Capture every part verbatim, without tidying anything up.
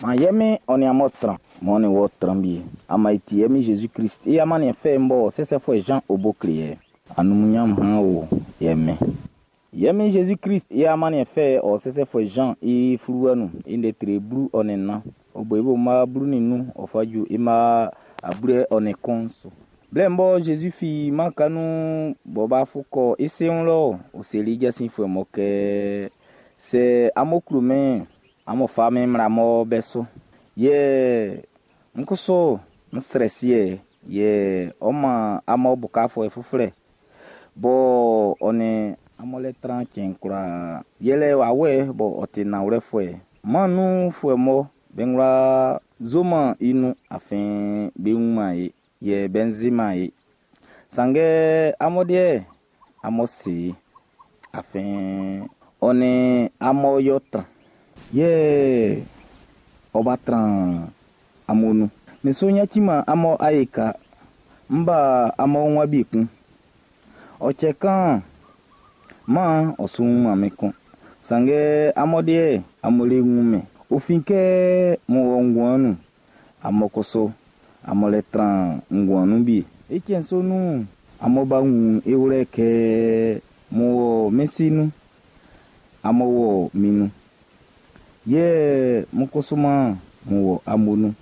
Man ye Min ɔ nin amun tran, man ɔ nin wɔ tran wie. Ama e ti ye Min Jésus-Christ i amanniɛn fɛ'n bɔ sɛsɛfuɛ Jean o bo kle ye. Anumunyanm han o ye Min. Ye Min Jésus-Christ i amanniɛn fɛ ɔ sɛsɛfuɛ Jean i fluwa nun i ndɛ tre blu ɔ nin nnan. Ɔ bo i bo mma blu nin nnun ɔ fa ju i mma ablu ɔ nin kun su. Blɛ bɔ Jésus fi mân nun bɔ b'a fu kɔ i si wun lɔ, ɔ seli i jasinfuɛ mɔ kɛ sɛ amun klo min'n, amun fa min mmla mɔ be su. Yɛ n kusu n srɛ Siɛ, yɛ ɔ man amun bukafuɛ fuflɛ bɔ ɔ nin amun lɛ tran cɛn kwlaa. Yɛlɛ wawɛ bɔ ɔ ti nanwlɛfuɛ. Man nunfuɛ mɔ be wla zoman i nun afin be wunman ye, yɛ be nziman ye. Sanngɛ amun deɛ, amun si i, afin ɔ nin amun yɔ tran. Yɛ ɔ ba tran amun nun. Min su yaciman amun ayeka, n ba amun wun bi kun. Ɔ cɛ kan, man ɔ su wunman min kun. Sanngɛ amun deɛ, amun le wun min. Ɔ fin kɛ mun wɔ nguan nun, amun kusu amun le tran nguan nun bi. I cɛn sɔ nun'n, amun ba wun i wlɛ kɛ mun wɔ min si nun, amun wɔ min nun. Yɛ mun kusu man mun wɔ amun nun.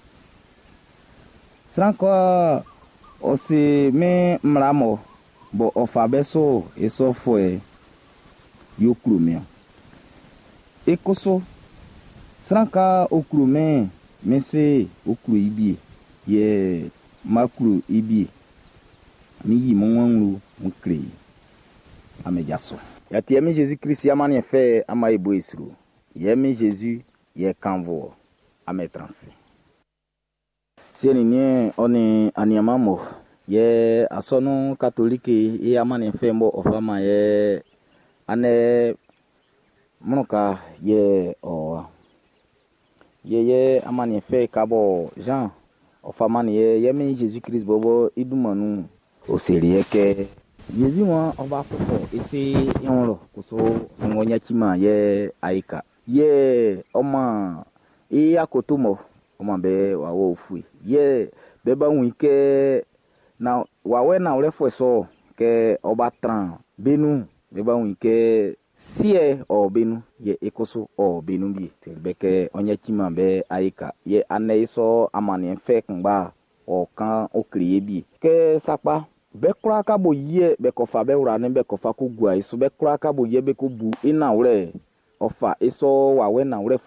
Sran ka ɔ si min mmla mɔ bɔ ɔ fa be su i sɔfuɛ y'ɔ klo min. I kusu sran ka ɔ klo min, min si ɔ klo i bi, yɛ ma klo i bi. Mi yi mun wun mun kle i. Ame jaso. Yati mi Jésus Christ amanniɛn fɛ ama e bo e sro. Yɛ mi Jésus yɛ kanvo ame transi. Siɛ nin niɛn ɔ nin anianman mo yɛ asɔnun katoliki i amanniɛn fɛ bɔ ɔ fa man yɛ anɛ mlɔka yɛ ɔ yɛ yɛ amanniɛn fɛ ka bɔ Jean ɔ fa man yɛ yɛ mi Jésus Christ bɔbɔ i dunman nun ɔ seli yɛ kɛ Jésus wan ɔ b'a fɔfɔ i si i wun lɔ kusu sɔngɔ ɲɛciman yɛ ayika yɛ ɔ man i akoto mɔ ɔ man be wawɛ ofue yɛ be ba wun i kɛ na wawɛ nanwlɛfuɛ sɔ kɛ ɔ ba tran be nun be ba wun i kɛ siɛ ɔ be nun yɛ i kusu ɔ be nun bi seli be kɛ ɔ ɲɛciman be ayika yɛ anɛ i sɔ amanniɛn fɛ kunngba ɔ kan ɔ kle ye bi kɛ sakpa be kwlaa ka bo yie be kɔ fa be wla ne be kɔ fa ko gua i su be kwlaa ka bo yie be ko bu i nanwlɛ ɔ fa i sɔ wawɛ nanwlɛfuɛ